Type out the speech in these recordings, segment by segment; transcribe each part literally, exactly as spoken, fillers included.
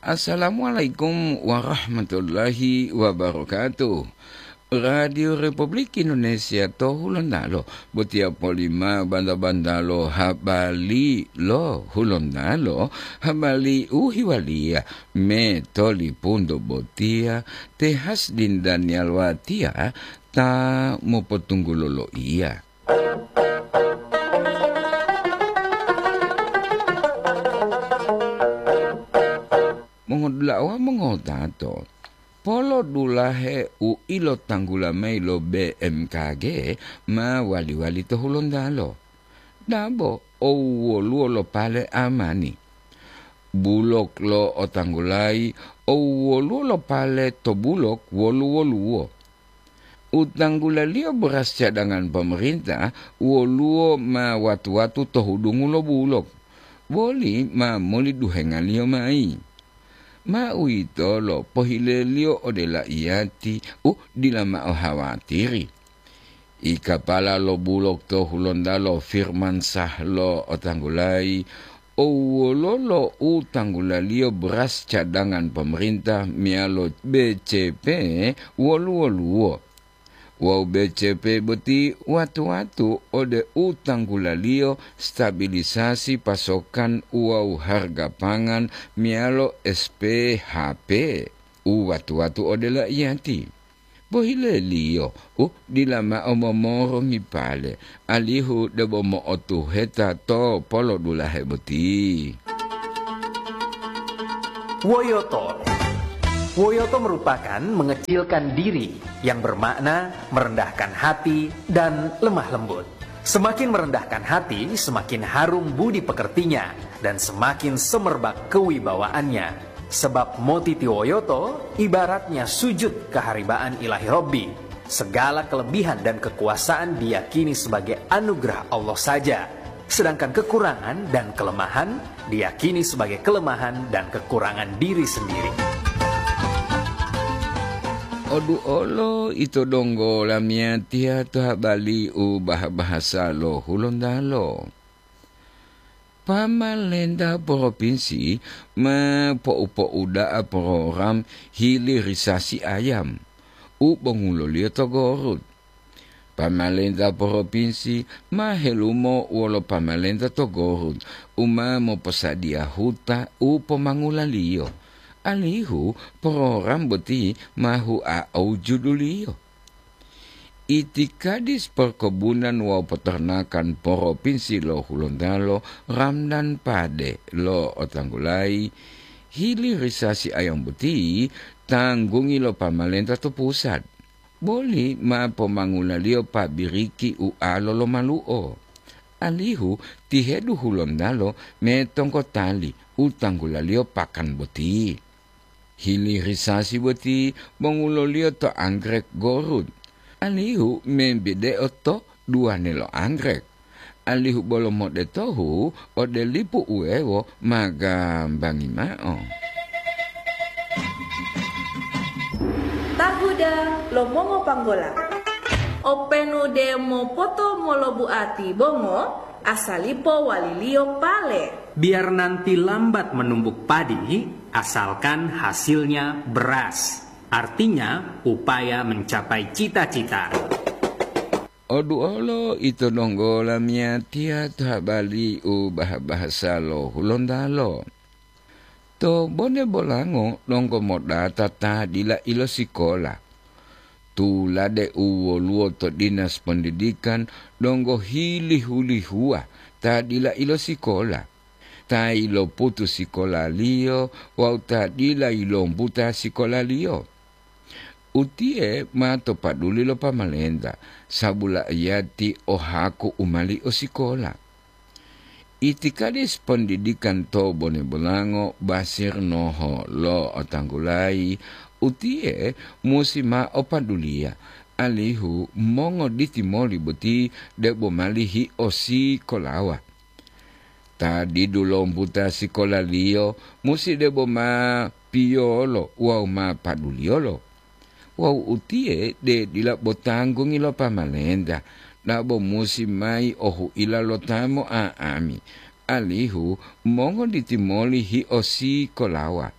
Assalamualaikum warahmatullahi wabarakatuh. Radio Republik Indonesia to Hulontalo, botiya polima banda-bandalo habari lo Hulontalo, habari u hiwaliya me tolipunto botiya, te Hasdin Daniel Watiya ta mopotunggulo loiya. Mongodula'a wawu mongotato, polo dulahe u ilotanggula mayi lo B M K G ma wali-wali to Hulontalo. Dabo o woluwo lo pale amani. Bulok lo otanggulayi o woluwo lo pale to bulok wolu-woluwo. U tanggulaliyo beras cadangan pemerintah woluwo ma watu-watu to hudungu lo bulok, boli ma moli duhengaliyo mayi. Ma uwitolo pohileliyo ode laiyati u dila mao hawatiri. I kapala lo bulok to Hulontalo Firman Sah lo otanggulayi, o wololo u tanggulaliyo beras cadangan pemerintah meyalo B C P wolu-woluwo. Wawu B C P boti watu-watu ode u tanggulaliyo stabilisasi pasokan wawu harga pangan meyalo S P H P u watu-watu ode laiyati. Pohileliyo u dila mao momorongi pale, alihu debo mo'otuheta to polodulahe boti. Woyoto. Woyoto merupakan mengecilkan diri, yang bermakna merendahkan hati dan lemah lembut. Semakin merendahkan hati, semakin harum budi pekertinya, dan semakin semerbak kewibawaannya. Sebab motitiwoyoto ibaratnya sujud keharibaan Ilahi Robbi. Segala kelebihan dan kekuasaan diyakini sebagai anugerah Allah saja, sedangkan kekurangan dan kelemahan diyakini sebagai kelemahan dan kekurangan diri sendiri. Odu olo ito donggo lamiyatiya to habali u bah-bahasa lo Hulontalo. Pamalenta propinsi ma po'upo'uda'a program hilirisasi ayam u bonguloliyo to Gorut. Pamalenta propinsi ma helumo wolo pamalenta to Gorut u ma moposadiya huta u pomangulaliyo, alihu program boti ma hua'au juduliyo. Itikadis Perkebunan wawu Peternakan Propinsi lo Hulontalo, Ramdan Pade lo otanggulayi, hilirisasi ayam boti tanggungi lo pamalenta to pusat. Boli ma pomangulaliyo pabiriki ualo lo malu'o, alihu tihedu Hulontalo metongkotali u tanggulaliyo pakan boti. Hilirisasi boti bonguloliyo to anggrek Gorut, alihu membide'o to duwane lo anggrek, alihu bolo modetohu ode lipu uwewo ma gambangi mao. Tahuda lo mongopanggola. Openu demo poto molobuati bongo, asalipo waliliyo pale. Biar nanti lambat menumbuk padi, asalkan hasilnya beras. Artinya, upaya mencapai cita-cita. Oduolo ito donggo lamiyatiya to habari u bah-bahasa lo Hulontalo. To Bone Bolango donggo modata ta dila ilosikola. Tulade u woluwo to Dinas Pendidikan donggo hilihu-lihuwa ta dila ilosikola, ta iloputu sikolaliyo wawu ta dila yilombuta sikolaliyo. Utiye ma to paduli lo pamalenta, sabu la'iyati o haku u mali o sikola. Itikadis Pendidikan to Bone Bolango Basir Noho lo otanggulayi, utiye musi ma o paduliya, alihu mongoditi moli boti debo mali hiosikolawa. Ta didu lombuta sikolaliyo musi debo ma piyolo wawu ma paduliyolo. Wawu utiye de dila bo tanggungi lo pamalenta, dabo musi mayi o huila lo ta mo'a'ami, alihu mongoditi moli hiosikolawa.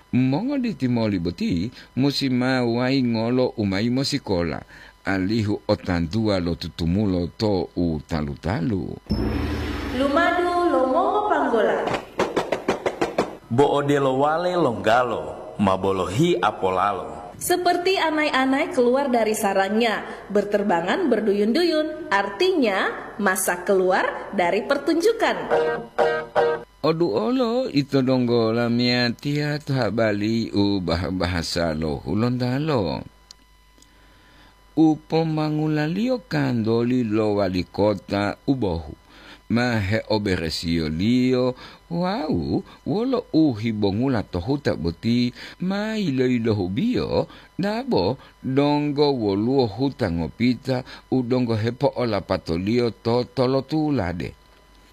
Mongoditi moli boti musi ma wayingolo u mayi mosikola, alihu otantuwa lo tutumulo to u talu-talu. Lumadu lo mongopanggola. Bo odelo wale longgalo, ma bolohi apolalo. Seperti anai-anai keluar dari sarangnya, berterbangan berduyun-duyun, artinya masak keluar dari pertunjukan. Oduolo ito donggo lamiyatiya to habali u bah-bahasa lo Hulontalo. U pomangulaliyo kantoli lo wali kota u bohu, ma heoberesiyoliyo wawu wolo uhibongula to huta boti ma yiloyilohubiyo, dabo donggo woluwo huta ngopita u donggo hepo'olapatoliyo to tolotulade.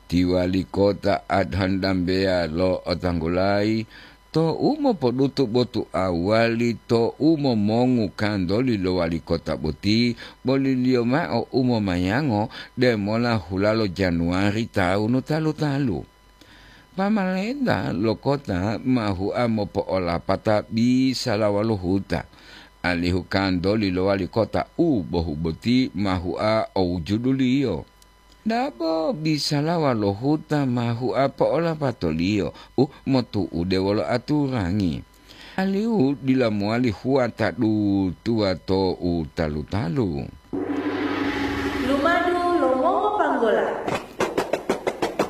Ti wali kota Adhan Dambeya lo'otanggulayi, tou mopodutu botuawali tou momongu kantoli lo wali kota boti, boliliyo mao u momayango demola hulalo Januwari tawunu talu-talu. Pamalenta lo kota ma hua mopo'olapata bisalawa lo huta, alihu kantoli lo wali kota u bohu boti ma hua o wujuduliyo. Dabo bisalawa lo huta ma hua po'olapatoliyo u motu'ude wolo aturangi, alihu dila mowali hua ta dutuwa to u talu-talu. Lumadu lo mongopanggola.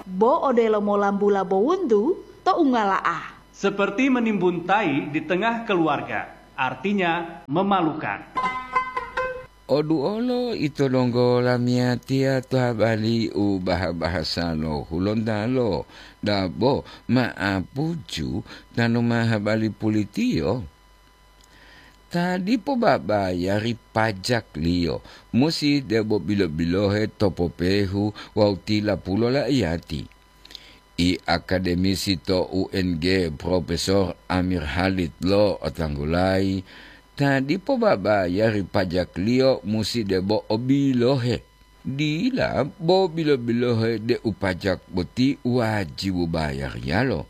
Bo odelo molambula bowuntu to ungala'a. Seperti menimbun tai di tengah keluarga, artinya memalukan. Oduolo ito donggo lamiyatiya to habali u baha-bahasa lo Hulontalo, dabo ma'apuju tanu ma habali pulitiyo. Ta dipo babayari pajakliyo musi debo bilo-bilohe to popehu wawu tilapulo laiyati. I akademisi to U N G, Profesor Amir Halid lo'otanggulayi, ta dipo babayari pajakliyo musi debo o bilohe. Dila bo bilo-bilohe deu pajak boti wajibu bayariyalo,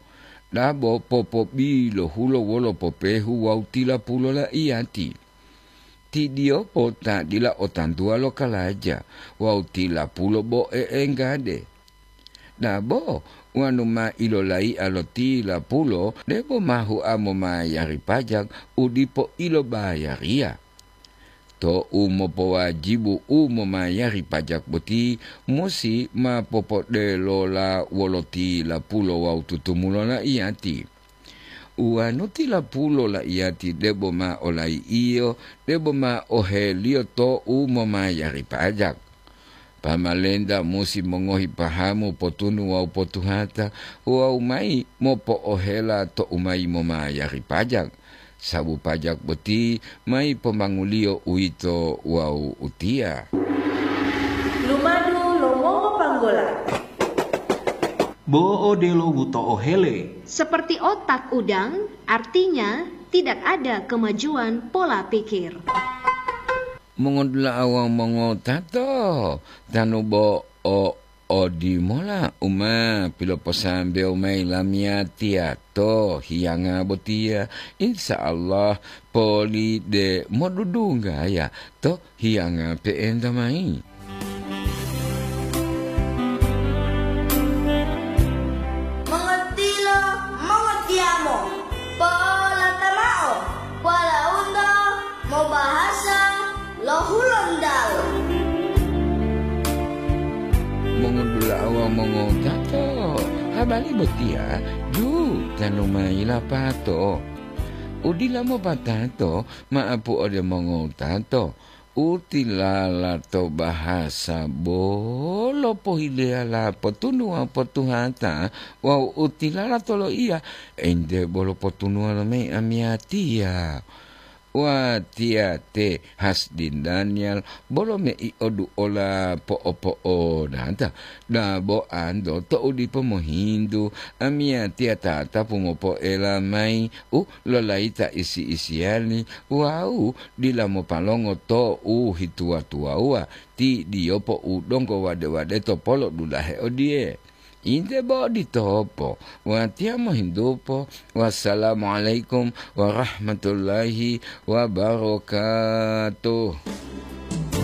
dabo popobilohulo wolo popehu wawu tilapulo laiyati. Tidiyopo ta dila o tantuwa lo kalaja wawu tilapulo bo e'enggade. Dabo wonu ma ilolaiya lo tilapulo debo ma hua momayari pajak u dipo ilobayariya. Tou mopowajibu u momayari pajak boti musi ma popodelola wolo tilapulo wawu tutumulo laiyati. Uwanu tilapulo laiyati debo ma olai'iyo, debo ma oheliyo tou momayari pajak. Pamalenta musi mongohi pahamu potunu wawu potuhata wawu mayi mopo'ohela tou mayi momayari pajak, sabu pajak boti mayi pomanguliyo uwito wawu utiya. Lumadu lo mongopanggola. Bo odelo wuto'ohele. Seperti otak udang, artinya tidak ada kemajuan pola pikir. Mongodula'a wawu mongotato, tanu bo o odimola u ma piloposambewo mayi lamiyatiya to hiyanga botiya, insya Allah poli de modudunggaya to hiyanga pe'enta mayi. Mongotilo, mongotiyamo, polatamao, polaunto mobahasa lo Hulontalo. Mongodula'a wawu mongotato, habari botiya ju tanu mayi lapato. Udila mopatato ma'apu ode mongotato, utilala to bahasa bolo pohileyala potunuwa potuhata wawu utilala to loiya, ente bolo potunuwa lo mayi amiyatiya. Watiya te Hasdin Daniel bolo mei oduola po'opo'odata, dabo anto to'u dipo mohintu, amiyatiya tatapu mopoela mayi u lolayita isi-isiyali wawu dila mopalongo to u hituwa-tuwawuwa, ti diyopo u donggo wade-wadeto polodulahe odiye, Inte bo ditopo. Watiya mohintupo. Wassalamualaikum warahmatullahi wabarakatuh.